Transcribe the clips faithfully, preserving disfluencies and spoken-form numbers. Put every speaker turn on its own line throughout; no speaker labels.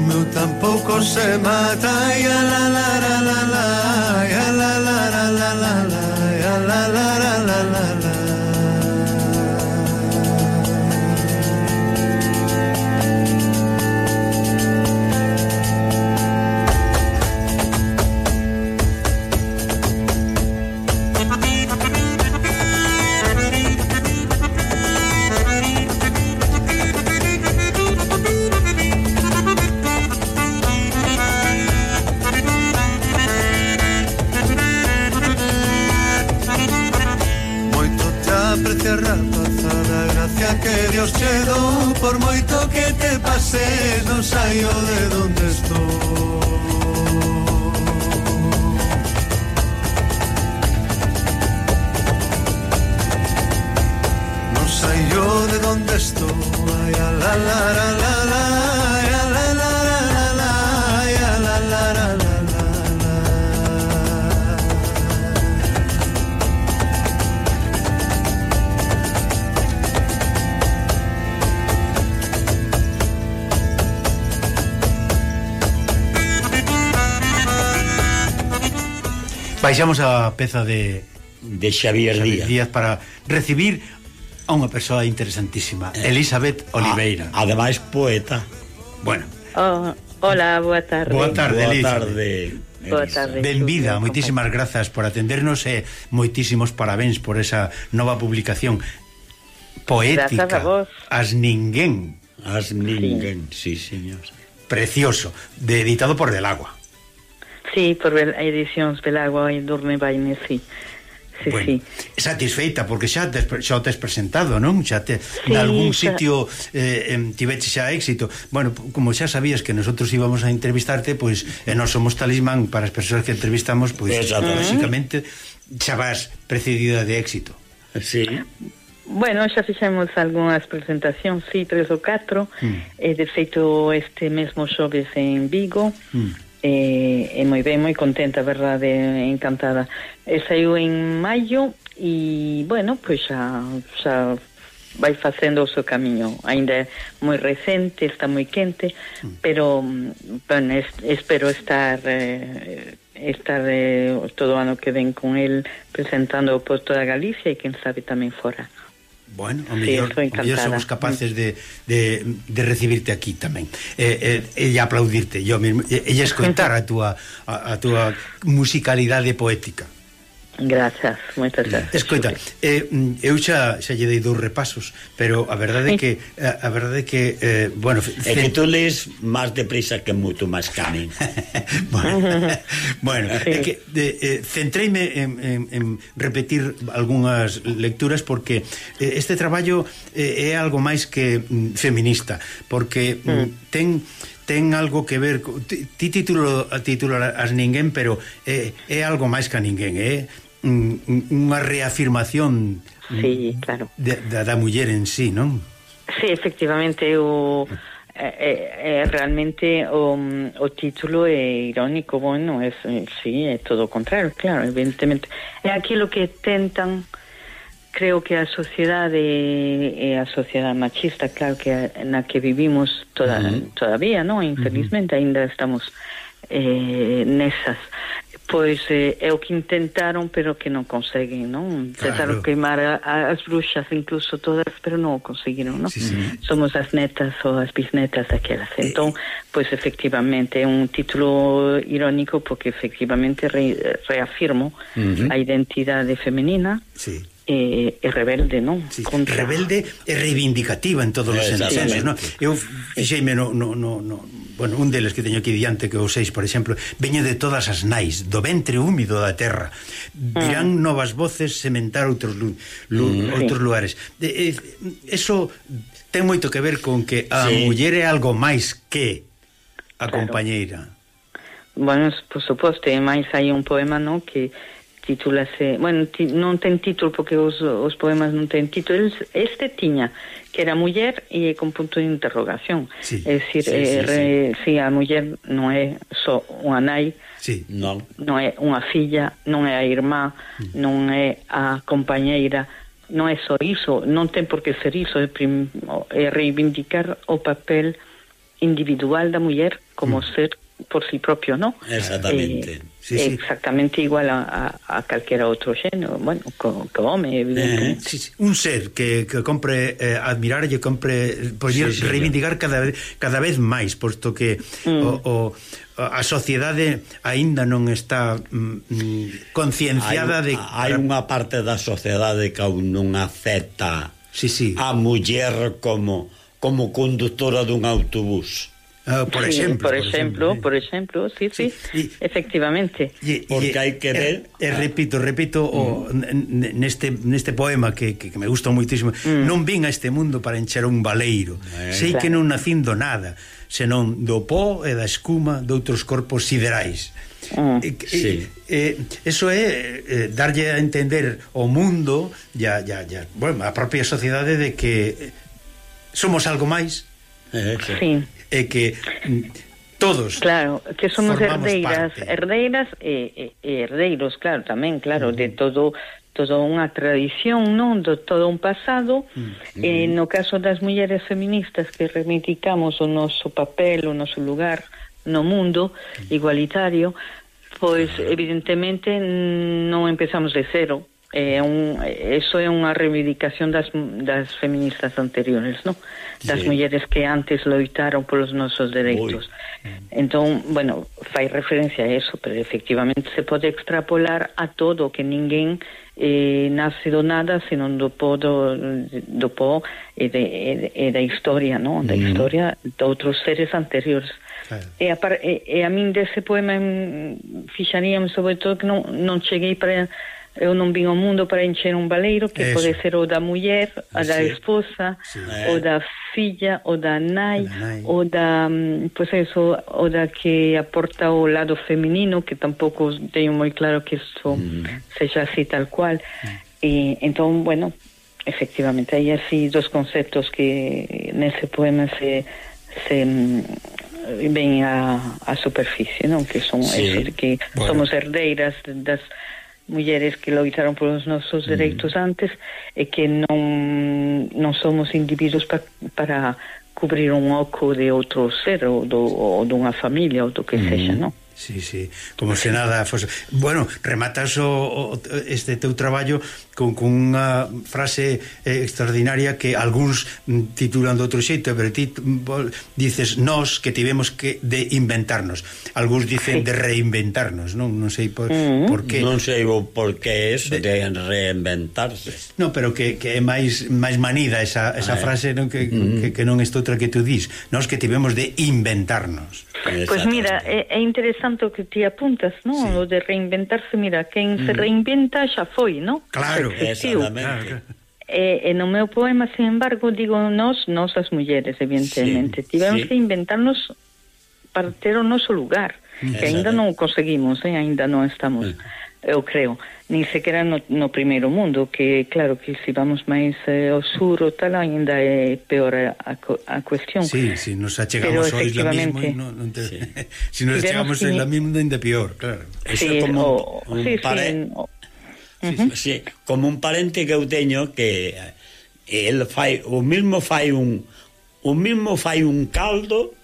O meu tampouco se mata. Ya la la la la la, ya la la la la la la, ya la la la la la la. Que Dios che dou, por moito que te pases, non saio de donde estou. Non saio de donde estou. Ay, la la la la la, ay, la la la la la, ay, la la la la la. Baixamos a peza de
de Xavier,
Xavier
Díaz.
Díaz para recibir a unha persoa interesantísima, eh, Elizabeth Oliveira.
A, ademais poeta.
Bueno.
Oh, hola, boa tarde.
Boa tarde,
Boa
Elizabeth.
tarde.
Boa tarde.
Benvida, moitísimas grazas por atendernos e moitísimos parabéns por esa nova publicación poética.
Grazas a vos.
As ninguén.
As ninguén, sí, sí señor.
Precioso, de editado por Del Agua.
Sí, por edicións Belagua e Durne Baine, sí. Sí,
bueno,
sí.
Satisfeita porque xa te, xa o tes presentado, non? Xa te
sí,
en algún
xa...
sitio eh, tiveche xa éxito. Bueno, como xa sabías que nosotros íbamos a entrevistarte, pois pues, e non somos talismán para as persoas que entrevistamos, pois pues, basicamente xa vas precedida de éxito.
Sí.
Bueno, xa fixemos algunhas presentacións, sí, tres ou catro, mm. e de feito este mesmo xoves en Vigo. Mm. E, e moi ben, moi contenta, verdade, encantada. E saiu en maio e, bueno, pois xa, xa vai facendo o seu camiño. Ainda é moi recente, está moi quente, mm. pero, bueno, es, espero estar eh, estar eh, todo o ano que ven con el presentando por toda Galicia e quen sabe tamén fora.
Bueno, o mellor, sí, o mellor somos capaces de, de, de recibirte aquí tamén e, e, e aplaudirte yo mesmo, e, e escoitar a túa a, a túa musicalidade poética.
Grazas, moitas grazas.
Escoita, eh, eu xa, xa lle dei dous repasos, pero a verdade é que a, a verdade é que eh, bueno,
é que tú lees máis deprisa que moito máis que a min.
bueno, bueno sí. É que de, eh, centreime en, en, en repetir algunhas lecturas porque eh, este traballo eh, é algo máis que mm, feminista, porque mm, ten ten algo que ver ti, ti título a título as ninguén, pero é, é algo máis que a ninguén, é unha reafirmación,
sí, claro,
de, da, da muller en sí, non?
Sí, efectivamente, o é, é realmente o, o título é irónico, bueno, é, sí, é todo o contrario, claro, evidentemente. É aquilo que tentan, creo que a sociedade é a sociedade machista, claro que na que vivimos toda, uh-huh. todavía, non? Infelizmente, uh-huh. ainda estamos eh, nesas. Pois eh, é o que intentaron, pero que non conseguen, non? Intentaron claro. queimar a, a, as bruxas, incluso todas, pero non o conseguiron, non? Sí, sí. Somos as netas ou as bisnetas daquelas. Entón, pois efectivamente é un título irónico porque efectivamente re, reafirmo uh-huh. a identidade femenina. Sí. E, e rebelde, non?
Sí, contra... rebelde e reivindicativa en todos os sentidos, non? Eu fixeime no, no, no, no, bueno, un deles que teño aquí diante, que o seis, por exemplo, veño de todas as nais, do ventre húmido da terra. Virán mm. novas voces sementar outros lu, lu, mm, outros sí. lugares. De, eh, eso ten moito que ver con que a sí. muller é algo máis que a claro. compañeira.
Bueno, por suposto, e máis hai un poema, non, que titúlase, bueno, ti, non ten título porque os, os poemas non ten título. Este tiña, que era muller e con punto de interrogación. Sí, é dicir, sí, eh, sí, re, sí. sí, a muller non é só unha nai, sí. non. non é unha filla, non é a irmá, mm. non é a compañeira, non é só iso, non ten por que ser iso, é, prim, é reivindicar o papel individual da muller como mm. ser por sí propio, ¿no?
Exactamente.
Eh,
sí, sí.
Exactamente igual a, a, a calquera outro xénero, bueno, co, co home, evidentemente.
Eh, sí, sí. Un ser que, que compre eh, admirar e compre poder sí, sí, reivindicar sí. cada, cada vez máis, posto que mm. o, o, a sociedade aínda non está mm, concienciada
hai,
de...
Hai unha parte da sociedade que aún non acepta
sí, sí.
a muller como, como conductora dun autobús.
Uh, por,
sí,
exemplo,
por exemplo, por exemplo, sí, sí, sí y, efectivamente.
Y, porque hai que ver,
e, e repito, repito uh-huh. o, neste neste poema que, que, que me gusta moitísimo, uh-huh. non vin a este mundo para encher un baleiro. Eh, Sei claro. que non nacín do nada, senón do pó e da escuma de outros corpos siderais. Uh, e, sí. e, eso é eh, darlle a entender ao mundo ya, ya, ya, bueno, a propia sociedade de que somos algo máis.
Eh, sí. sí.
E que todos
claro, que somos herdeiras
parte.
herdeiras e, e, e herdeiros, claro, tamén, claro, uh-huh. de todo toda unha tradición, non? Do todo un pasado. Uh-huh. E no caso das mulleres feministas que reivindicamos o noso papel, o noso lugar no mundo uh-huh. igualitario, pois uh-huh. evidentemente non empezamos de cero. É un, eso é unha reivindicación das, das feministas anteriores, ¿no? Das sí. mulleres que antes loitaron polos nosos dereitos. Uy. Entón, bueno, fai referencia a eso, pero efectivamente se pode extrapolar a todo, que ninguén eh, nace do nada, senón do pó do, do pó e, de, e, e da historia, ¿no? Da mm. historia de outros seres anteriores. Claro. E, a, e, e a min dese poema fixaríame sobre todo que non, non cheguei para... Eu non vim ao mundo para encher un baleiro, que eso. Pode ser o da muller, a da sí. esposa, sí. o da filla, o da nai, nai. o da, pues eso, o da que aporta o lado feminino, que tampouco teño moi claro que isto mm. sexa así tal cual. Mm. E entón, bueno, efectivamente, hai así dos conceptos que nese poema se se ven a, a superficie, non? Que son sí. eso, que bueno. somos herdeiras das mulleres que loitaron polos nosos dereitos mm. antes e que non non somos individuos pa, para cubrir un oco de outro ser ou, do, ou dunha familia ou do que mm. sexa, non?
Sí, sí, como se nada fose... Bueno, rematas o, o, este teu traballo con, con unha frase eh, extraordinaria que algúns titulan de outro xeito, pero ti dices nós que tivemos que de inventarnos. Algúns dicen sí. de reinventarnos, non? Non sei por, mm. por qué.
Non sei o por que eso de, de reinventarse.
Non, pero que, que é máis máis manida esa, esa ah, frase, non? Que, mm. que, que non é outra que tú dis. Nós que tivemos de inventarnos.
Pois mira, é, é interesante o que ti apuntas, non? Sí. O de reinventarse, mira, quen mm. se reinventa xa foi, non?
Claro,
exactamente.
E, e no meu poema, sin embargo, digo nós, nós as mulleres, evidentemente, sí, tivemos sí. que inventarnos para ter o noso lugar, mm. que ainda non o conseguimos, eh? Ainda non estamos... Mm. Eu creo, nin sequera no, no primeiro mundo, que claro que se vamos máis eh, ao sur ou tal, ainda é peor a, a, a cuestión.
Sí, si nos achegamos ao isla mismo no, no te... sí. Si nos achegamos ao isla mismo ainda peor, claro.
Sí,
Eso é como
o,
un, un
sí,
pare...
sí, o...
sí, uh-huh. sí, como un parente que eu teño que el fai, o mismo fai un o mismo fai un caldo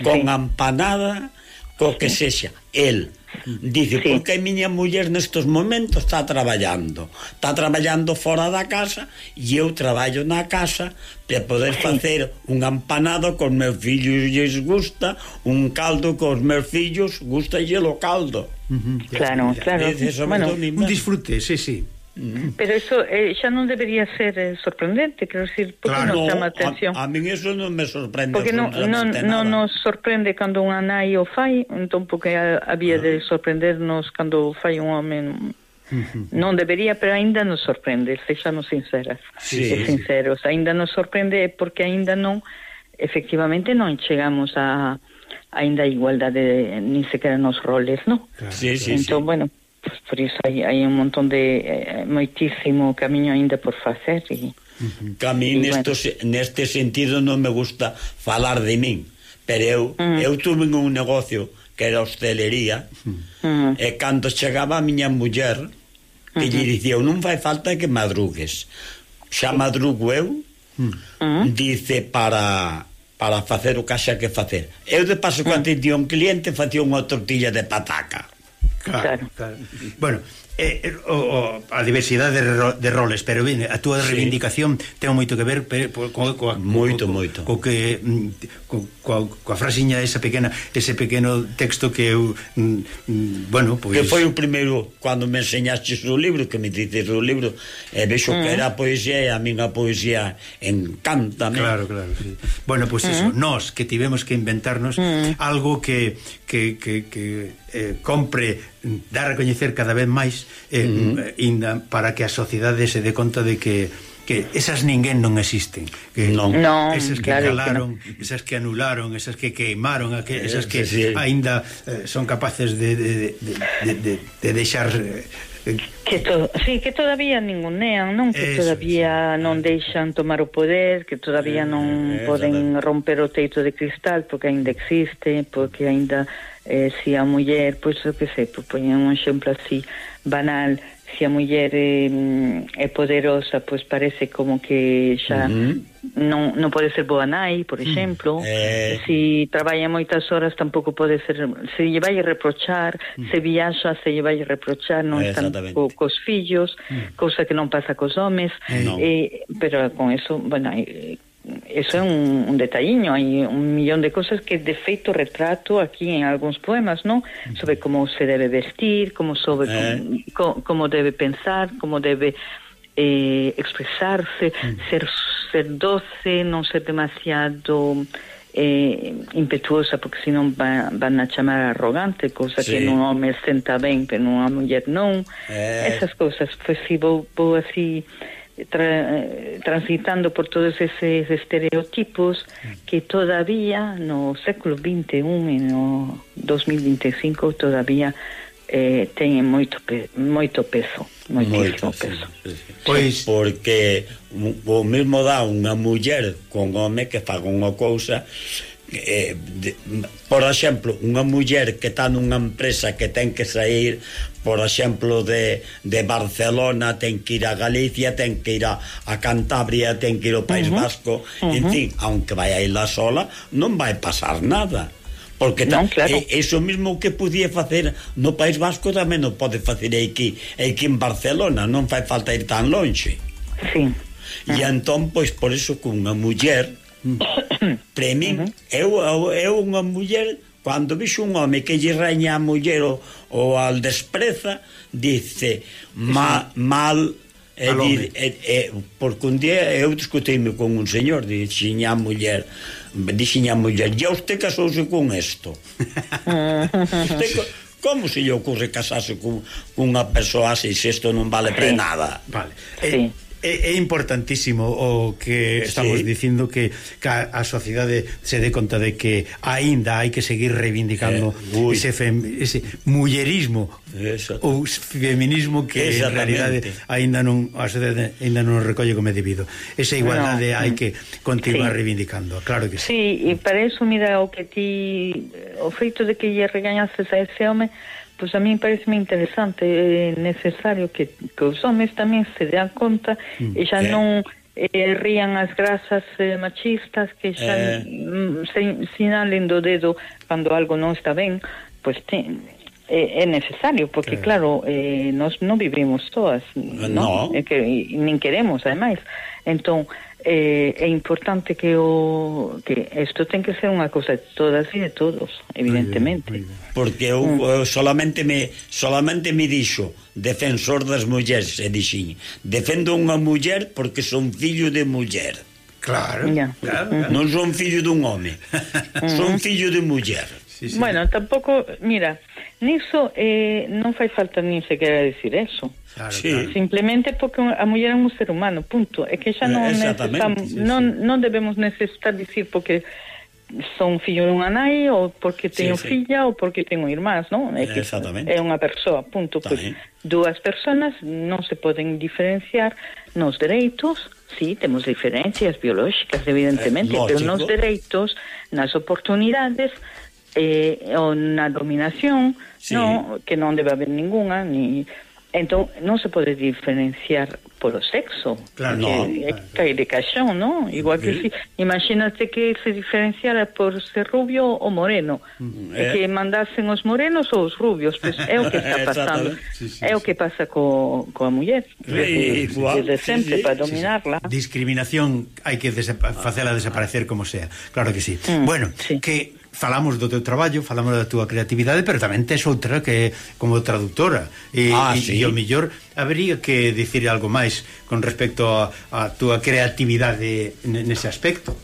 con sí. empanada co que sexa, el dice, sí. porque a miña muller nestes momentos está traballando está traballando fora da casa e eu traballo na casa para poder sí. facer un empanado cos meus fillos lles gusta, un caldo cos meus fillos gusta e o caldo.
Uh-huh. Claro, claro.
Bueno, un disfrute, sí, sí.
Mm. Pero eso eh, xa non debería ser eh, sorprendente, quero decir, porque claro, non chama atención.
A, a min eso non me sorprende.
Porque non, non, non nos sorprende cando unha nai o fai, entón porque había de sorprendernos cando fai un home. Uh-huh. Non debería, pero aínda nos sorprende, sexamos sinceras sí, e sinceros, sí. Aínda nos sorprende porque aínda non, efectivamente non chegamos a aínda a igualdade nin sequera nos roles, non?
Claro. Sí, sí,
entón,
sí.
bueno, pues por iso hai, hai un montón de eh, moitísimo camiño aínda por facer e
uh-huh. que a mí nesto, bueno. neste sentido non me gusta falar de min, pero eu uh-huh. eu tuve un negocio que era hostelería uh-huh. e cando chegaba a miña muller que uh-huh. lle dicía, non fai falta que madrugues, xa madrugo eu uh-huh. dice para para facer o que haxa que facer. Eu de paso cando mm. tía un cliente facía unha tortilla de pataca.
Claro, claro. Bueno, eh, o, o, a diversidade de, ro, de roles, pero ben, a túa sí. reivindicación ten moito que ver pero, co, co, co,
moito,
co,
moito
co que co, co, coa frasiña esa pequena, ese pequeno texto que eu mm, bueno, pois
pues... que foi o primeiro cando me enseñaste o libro, que me dices o libro, e vexo mm. que era poesía e a minha poesía encántame.
Claro, claro, sí. Bueno, pois pues mm. eso, nós que tivemos que inventarnos mm. algo que que, que, que eh, compre dar a coñecer cada vez máis eh, mm-hmm. inda, para que a sociedade se dé conta de que que esas ninguén non existen, que
non. No,
esas que claro calaron, que no. esas que anularon, esas que queimaron, esas que sí, sí. aínda eh, son capaces de de, de, de, de, de deixar eh,
que to, sí, que todavía ningunean, non? Que eso, todavía sí. non deixan tomar o poder, que todavía non eh, poden romper o teito de cristal porque aínda existe, porque aínda eh, si a muller, pois eu que sei, pois poñen un exemplo así banal, se a muller é, é poderosa, pois parece como que xa uh-huh. non, non pode ser boa nai, por exemplo. Eh... Se traballa moitas horas tampouco pode ser, se lle vai reprochar, uh-huh. se viaxa se lle vai reprochar, non están co, cos fillos, uh-huh. cousa que non pasa cos homes. Eh, no. eh, pero con eso, bueno, eh, eso é un, un detalliño, hai un millón de cosas que de feito retrato aquí en algúns poemas, non? Sobre como se debe vestir, como sobre eh. como, como debe pensar, como debe eh, expresarse, mm. ser ser doce, non ser demasiado eh, impetuosa, porque senón van, van a chamar arrogante, cousa sí. que nun home senta ben, pero nunha muller non. Eh. Esas cousas, pois si vou, vou así Tra, transitando por todos eses estereotipos que todavía no século veintiuno e no dos mil veinticinco todavía eh, teñen moito, pe, moito peso, moitísimo moito, peso.
Sí, sí. Pois porque o mesmo dá unha muller con home que faga unha cousa. Eh, de, por exemplo, unha muller que está nunha empresa que ten que sair, por exemplo, de, de Barcelona, ten que ir a Galicia, ten que ir a, a Cantabria, ten que ir ao País uh-huh. Vasco, uh-huh. en fin, aunque vai a ela sola, non vai pasar nada. Porque non, claro. é, iso mesmo que podía facer no País Vasco tamén non pode facer aquí, aquí en Barcelona, non fai falta ir tan longe.
Sí.
E uh-huh. entón, pois, por iso que unha muller para min, uh-huh. eu, eu, eu unha muller, cando vixo un home que lle raña a muller o, o al despreza, dice ma, mal e, di, e, e, porque un día eu discutíme con un señor, dixen a muller dixen a muller, e usted casouse con esto? Usted, como se lle ocurre casarse con, con unha persoa así se isto non vale para nada?
Vale, sí. eh, É, é importantísimo o que estamos sí. dicindo que, que a, a sociedade se dé conta de que aínda hai que seguir reivindicando eh, ese, fem, ese mullerismo ou feminismo que en realidade aínda non a sociedade aínda non recolle como é debido. Esa igualdade no, hai que continuar sí. reivindicando, claro que sí.
Sí, e para eso mira o que ti o feito de que lle regañases a ese home, pois a mí parece moi interesante, é necesario que, que os homes tamén se dean conta mm, e xa eh. non eh, rían as grasas eh, machistas que xa eh. mm, se sinalen do dedo cando algo non está ben, pois te, é, é necesario, porque eh. claro, eh, nós non vivimos todas, non?
No.
É que nin queremos, ademais. Entón, eh, é importante que o que isto ten que ser unha cousa de todas e de todos, evidentemente. Muy bien, muy bien.
Porque eu, mm. eu solamente me solamente me dixo defensor das mulleres, e dixen, defendo unha muller porque son fillo de muller.
Claro,
yeah.
claro, claro.
Non son fillo dun home. Son fillo de muller.
Sí, sí. Bueno, tampouco, mira, niso eh, non fai falta nin sequera decir eso.
Claro,
sí.
claro.
Simplemente porque a muller é un ser humano, punto. É que xa non necesitamos, sí, non, sí. non debemos necesitar dicir porque son fillo dunha nai ou porque teño sí, sí. filla ou porque teño irmás, non? É que é unha persoa, punto. Pois dúas persoas non se poden diferenciar nos dereitos. Sí, temos diferencias biolóxicas, evidentemente, eh, pero nos dereitos, nas oportunidades eh, ou na dominación, sí. no, que non debe haber ninguna, ni... Entón, non se pode diferenciar por o sexo.
Claro,
que
no,
é
claro.
cae de caixón, ¿no? Igual que
Sí.
si, imagínate que se diferenciara por ser rubio ou moreno,
Mm,
e
eh.
que mandasen os morenos ou os rubios, pues é o que está pasando.
Exactamente.
Sí, sí,
é o
sí.
que pasa co, coa muller,
Sí,
desde,
igual,
desde
sí,
sempre,
sí,
para
sí, sí.
dominarla.
Discriminación hai que desapa- facela desaparecer como sea. Claro que sí.
Mm,
Bueno,
sí.
que falamos do teu traballo, falamos da túa creatividade, pero tamén tes outra que como traductora. E,
Ah,
e,
sí.
e o mellor habería que dicir algo máis con respecto a, a túa creatividade nese aspecto.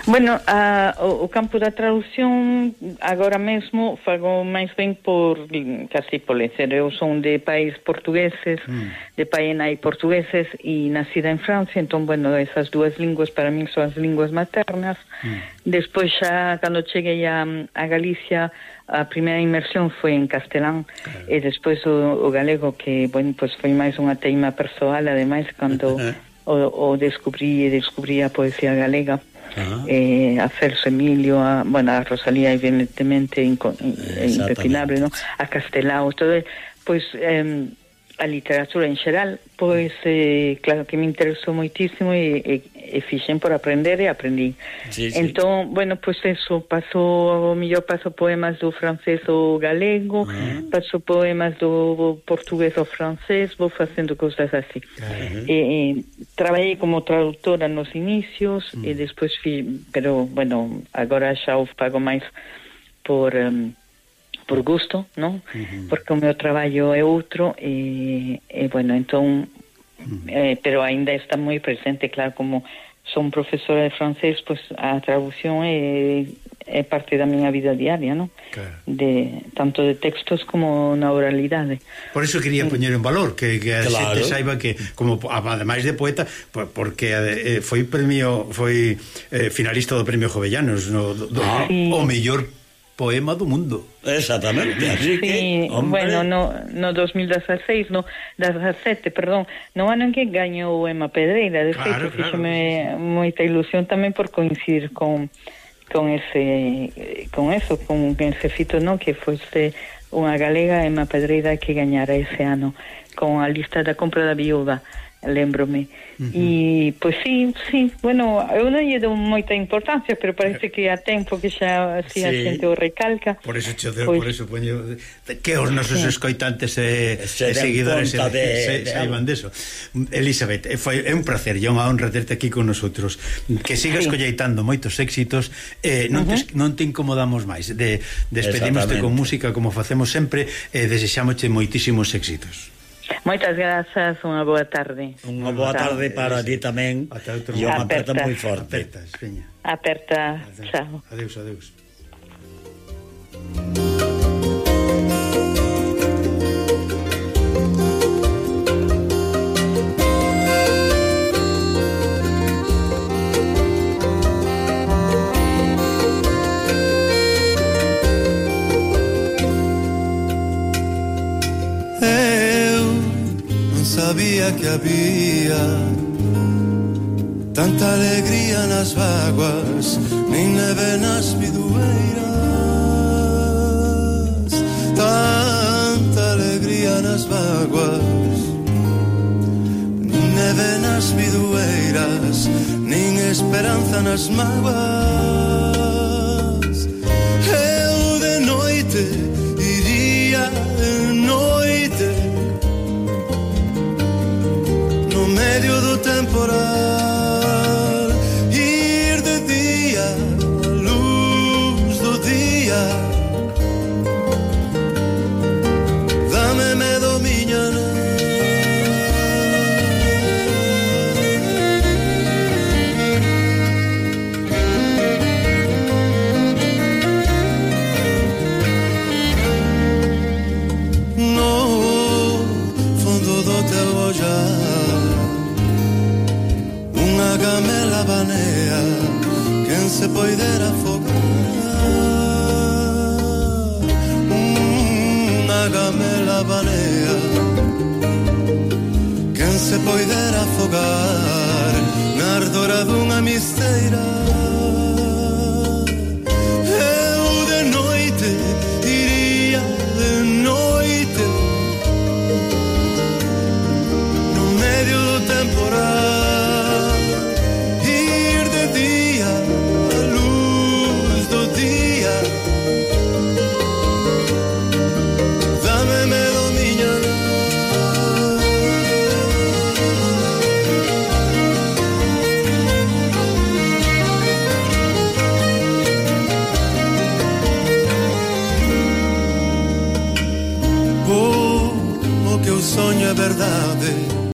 Bueno, a, o, o campo da traducción agora mesmo fago máis ben por casi por lecer. Eu son de pais portugueses, mm. de pai e nai portugueses e nacida en Francia, entón, bueno, esas dúas linguas para min son as linguas maternas. Mm. Despois xa, cando cheguei a, a Galicia, a primeira inmersión foi en castelán, claro. E despois o, o galego, que, bueno, pues foi máis unha teima persoal, ademais, cando o, o descubrí e descubrí a poesía galega. Uh-huh. Eh, a Celso Emilio, a, bueno, a Rosalía evidentemente inco, eh, impepinable, ¿no? A Castelao, todo, pois eh, a literatura en xeral, pois eh, claro que me interesou moitísimo e, e, e fixen por aprender e aprendí. Sí, sí. Entón, bueno, pois eso, paso, o mellor paso poemas do francés ao galego, uh-huh. paso poemas do portugués ao francés, vou facendo cousas así. Uh-huh. E, e traballei como traductora nos inicios, uh-huh. e despois fi, pero, bueno, agora xa o pago máis por... Um, por gusto, non? Uh-huh. Porque o meu traballo é outro e, e bueno, entón uh-huh. eh, pero ainda está moi presente, claro, como son profesora de francés, pois pues, a traducción é, é parte da miña vida diaria, non? Claro. De, tanto de textos como na oralidade.
Por eso quería poñer en valor que, que a
claro.
xente saiba que, como ademais de poeta, porque eh, foi premio, foi eh, finalista do Premio Jovellanos, no, do, ah. sí. o mellor poema do mundo.
Exactamente, así
sí,
que, hombre...
bueno, no, no dos mil dezasseis, no dezasete, perdón, no ano en que gañou o Ema Pedreira, de
claro,
feito,
claro,
fíxeme moita ilusión tamén por coincidir con con ese con eso, con ese fito, no, que fosse unha galega, Ema Pedreira, que gañara ese ano con a lista da compra da viúva, lembrome. E, uh-huh. pois sí, sí, bueno, eu non lle dou moita importancia, pero parece que a tempo que xa así sí. a xente o recalca.
Por eso che deu, pues, por eso poño que os nosos sí. escoitantes e,
se
e seguidores se,
de,
se,
de,
saiban deso. Elizabeth, foi é un placer e unha honra terte aquí con nosotros. Que sigas sí. colleitando moitos éxitos, eh, non, uh-huh. te, non te incomodamos máis. De, despedimos con música como facemos sempre e eh, desexámoche moitísimos éxitos.
Moitas grazas, unha boa tarde.
Unha boa tarde para ti tamén. E unha aperta moi forte.
Apertas, veña.
Aperta, chao.
Adeus, adeus.
Sabía que había tanta alegría nas vaguas, nin neve nas bidueiras. Tanta alegría nas vaguas, nin neve nas bidueiras, nin esperanza nas mágoas. Eu de noite iría de noite no medio do temporal, ir de día a luz do día. Dame medo miña no fondo do teu ollar unha gamela banea, quen se poidera afogar. Unha gamela banea, quen se poidera afogar na ardora dunha misteira. Eu de noite iría de noite no medio do verdade